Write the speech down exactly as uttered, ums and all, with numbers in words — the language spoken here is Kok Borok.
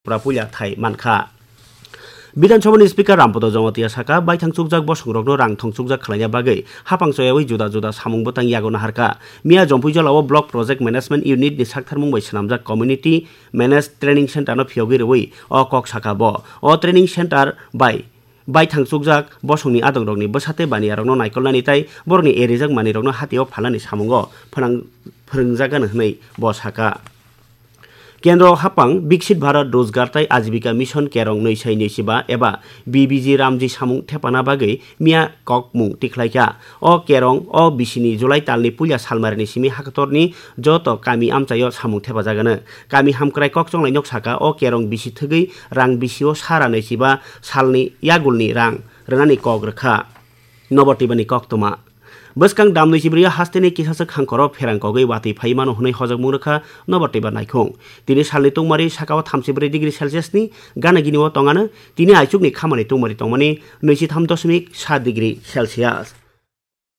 Tripura puila thai mankha. Bidhan Sabhani Speaker Rampada Jamatia saka, baithang chukjak bosongrokno rang thong chukjak khlaina bagwi hapang choyawi juda juda samung bwtang yago naharkha. Miya Jompui Jolao Block Project Management Unit ni saktharmung bai swnamjak Community Managed Training Center no phiyogwi rwui o kok saka bo. O training center bai baithang chukjak bosongni adongrokni bwsa tei baniyarokno naikolnani tei borokni erijak manwirokno hatio phalnani samungo phnang-, phwrwngjakgani hwnwi bo saka. Kendro hapang Biksit Bharat Rojgar tei Ajibika Mission Kerong nwi sai nwi chiba eba B B G Ramji samung thepana bagwi miya kokmung tikhlaikha. O kerong o bisini July talni puila salmarini simi hakatorni joto kami amchaio samung thepajagano. Kami hamkrai kokchonglai nok saka o kerong bisi thwgwi rang bisio sara nwi chiba salni yagulni rang rwnani kok rwkha. Nobar twibani koktwma. Bwskang damnwi chibrwi hasteni kisasa khangkoro pherang kogwi watwi phai mano hwnwi hojokmung rwkha Nobar twiba naikhung. Tini salni tungmari sakao thamchibrwi degree Celsius ni gana gini o tongano, tini aichukni khamani tungmari tongmani nwichitham doshmik sa degree Celsius.